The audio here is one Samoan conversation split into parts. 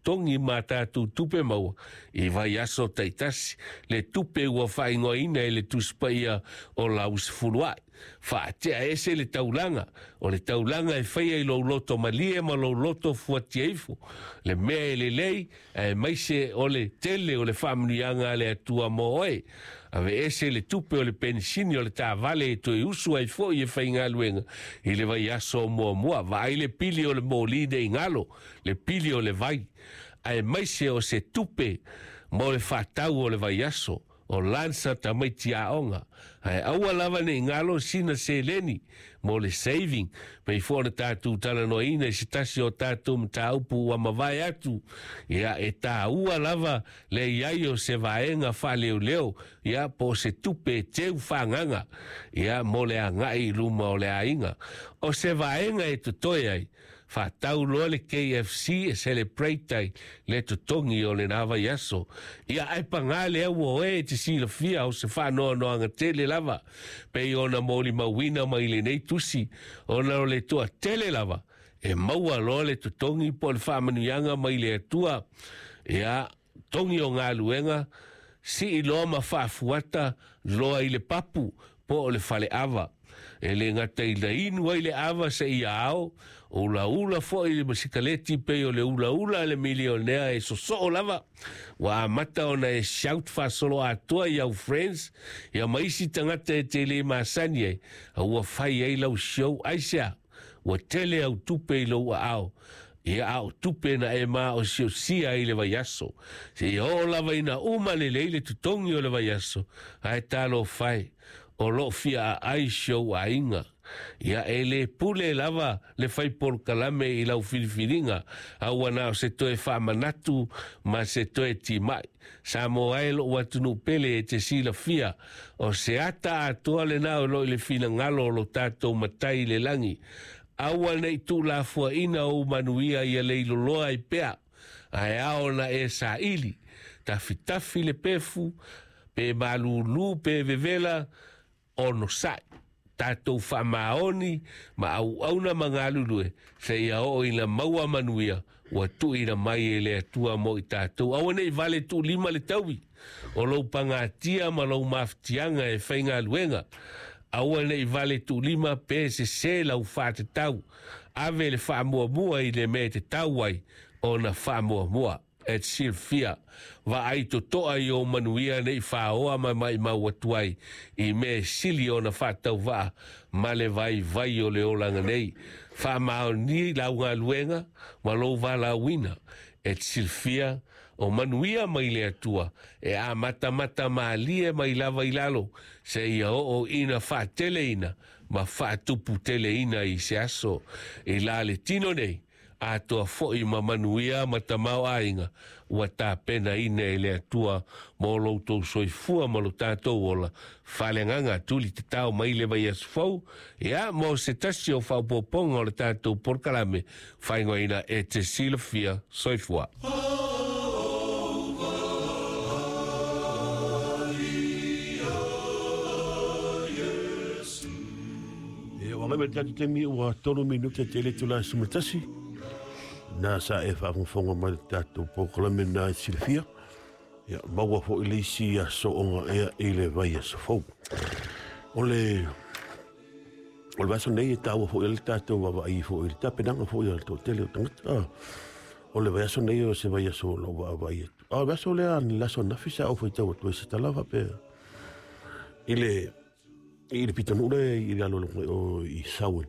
totogi ma tatou tupe maua i vaiaso taitasi, le tupe ua faaigoaina e le Tusi Paia o Lausefuluai. Faatea ese le taulaga, o le taulaga e faia i lou loto malie ma lou loto fuatia ifo, le mea e lelei, aemaise o le tele o le faamanuiaga a le Atua mo oe. Aveese le tupe o le penisini o le taavale e toe usu ai foi e faigaluega i le vaiaso o muamua. Vaai le pili o le moli nei galo, le pili o le vai, aemaise o se tupe mo le faatau o le vaiaso, o lansa tamaiti aoga. Ae aua lava nei galo sina seleni mo le saving, pei foi ona tatou talanoaina i se tasi o tatou mataupu ua mavae atu. Ia, e taua lava le iai o se vaega faaleoleo, ia, po o se tupe e teu faaagaga, ia, mo le agai i luma o le aiga. O se vaega e totoe ai, faatau loa le KFC e celebrate ai le totogi o lena vaiaso. Ia, ae paga lea ua oe e te silafia o se faanoanoaga tele lava, pei ona molimauina mai lenei tusi, ona o le toatele lava e maua loa le totogi po o le faamanuiaga mai le Atua. Ia, togi o galuega, sii loa ma faafuata loa i le papu po o le faleava. E le gata i le inu ai le ava seia ao, o ulaula foi le masikaleti pei o le ulaula a le milionea e sosoo lava. Ua amata ona e shout faasolo atoa i au friends, ia ma isi tagata e te le masani ai, a ua fai ai lau show. Aisea? Ua tele au tupe i lou aao. Ia, a o tupe na e maosiosia i le vaiaso, seia oo lava ina uma lelei le totogi o le vaiaso, ae talofa e, o loo fia aai si ou aiga. Ia, e le pule lava le fai polokalame i lau filifiliga, a ua na o se toe faamanatu ma se toe timai. Samoa e lou atunuu pele, e te silafia, o se ata atoa lena o loo i le finagalo o lo tatou Matai i le lagi. Aua nei tuulafoaina ou manuia ia leiloloa ai pea, ae ao ona e saili, tafitafi le pefu, pe malūlū pe vevela, onosai. Tatou faamaoni ma auauna ma galulue, seia oo ina maua manuia ua tuuina mai e le Atua mo i tatou. Aua nei vale tuulima le taui o lou pagatia ma lou mafatiaga e faigaluega. Aua nei vale tuulima pe sesē lau faatatau. Ave le faamuamua i le mea e tatau ai ona faamuamua. E te silafia, vaai totoa i ou manuia nei faoa ma maimau atu ai i mea e sili ona faatauvaa ma le vaivai o le olaga nei. Faamaoni lau galuega ma lou valaauina. E te silafia, o manuia mai le Atua e amatamata malie mai lava i lalo, seia oo ina faateleina ma faatuputeleina i se aso. I la le tino nei, atoa foi ma manuia ma tamaoaiga ua tapenaina e le Atua mo lo outou soifua ma lo tatou ola. Faaleagaga tuli tatao mai le vaiaso fou, ia, mo se tasi o faaopoopoga o le tatou polokalame faaigoaina E Te Silafia. Soifua. E ua mai le tatou taimi ua 3 minute te le itula e 11. Na sa e faafogafoga mai le tatou polokalame na e silafia. Ia, maua foi le isi aso ogaea i le vaiaso fou. O le vaiaso nei e taua foi le tatou vaavaai foi i le tapenaga foi a le toatele o tagata. O le vaiaso nei o se vaiaso o lou vaavaai atu. A o le vaiaso lea, le aso ananafi sa ou faitau atu ai se tala faapea i le pitonuu lea i lalo o i Sawen.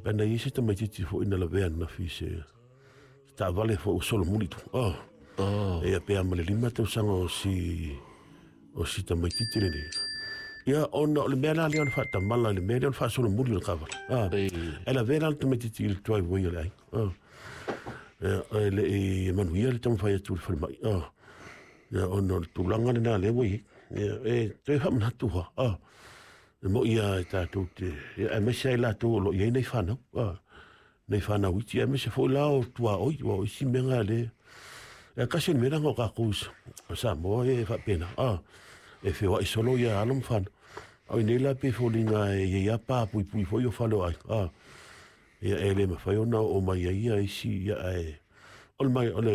Pe na i ai se tamaitiiti foi na lavea ananafi i se taavale foi ua solomuli tu. Ia pe a ma le 5 tausaga o si tamaitiiti lenei. Ia, ona o le mea la lea o le faatamala, le mea lea o le faasolomuli o le taavale. E lavea la le tamaitiiti i le driveway o le aiga. Ia, e le i manuia le taumafai atu i le falemai. Ia, ona o le tulaga lena lea ua i ai. Ia, e toe faamanatu lava. E moi lava e tatou te, ia, aemaise ai latou o lo o i ai nai fanau. Nai fanau iti, aemaise foi la o tuaoi, ua o isi mea na lea. E kasi o le mea lena o tatou o Samoa e faapena. E feoai solo ia alo ma fanau. A o nei la pe foliga e i ai a pa puipui foi o fale o aiga. Ia, e le mafai ona oo mai ai ia isi, ia, ae o le mai o le